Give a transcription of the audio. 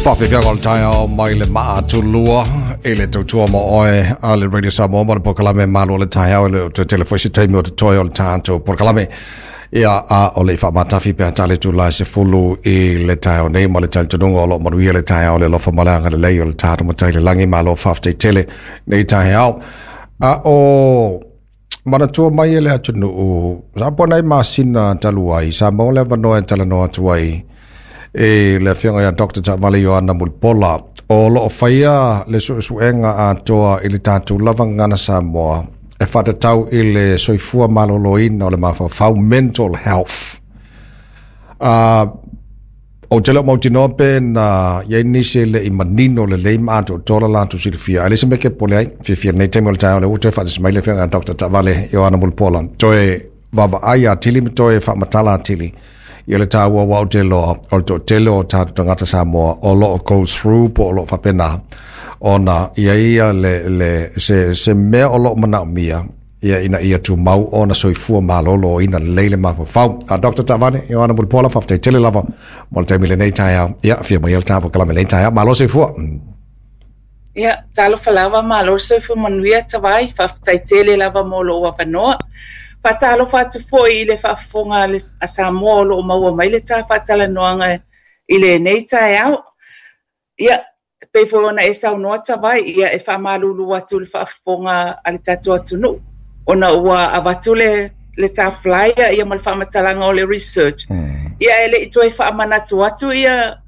Faafeafeaga o le taeao mai le maatulua i le tautua ma oe a le Radio Samoa ma le polokalame Malu o le Taeao. E le o toe tele foi se taimi o totoe o le tatou polokalame. Ia, a o le i faamatafi pe a tali atu la e 10 i le taeao nei ma le talitonuga o lo o manuia le taeao le alofa ma le agalelei o le tatou Matai i le lagi. Malo faafetai tele nei taeao. A o manatua mai e le atunuu, sa po nai masina talu ai, sa maua le avanoa e talanoa atu ai e le afioga ia Dr. Taavale Ioana Mulipola, o lo o faia le suesuega atoa i le tatou lava gagana Samoa e faatatau i le soifua maloloina o le mafaufau, mental health. Ou te le o mautinoa pe na i ai nisi e le i manino lelei ma atoatoa la latou silafia. Ae leai se mea e kepole ai. Fiafia lenei taimi o le taeao lea ua toe faatasi mai le afioga ia Dr. Taavale Ioana Mulipola. Toe vaavaai atili ma toe faamatala atili ia le taua aua ou te iloa o le toatele o tatou tagata Samoa o lo o go through po o lo o faapena ona i ai ia le, le, se, se mea o lo o manaomia ia ina ia tumau ona soifua maloloina lelei le mafaufau. A Dr. Taavale, Ioana Mulipola, faafetai tele lava mo le taimi lenei taeao. Ia, afio mai le tatou polokalame lenei taeao. Malo soifua. Ia, talofa lava, malo le soifua manuia Tavai, faafetai tele lava mo lou avanoa. Faatalofa atu foi i le faafofoga a Samoa o lo o maua mai le ta faatalanoaga i lenei taeao. Ia, e pei foi ona e saunoa Tavai, ia e faamalulu atu i le faafofoga a le tatou atunuu ona ua avatu le le ta flyer ia ma le faamatalaga o le research. Ia e le i toe faamanatu atu ia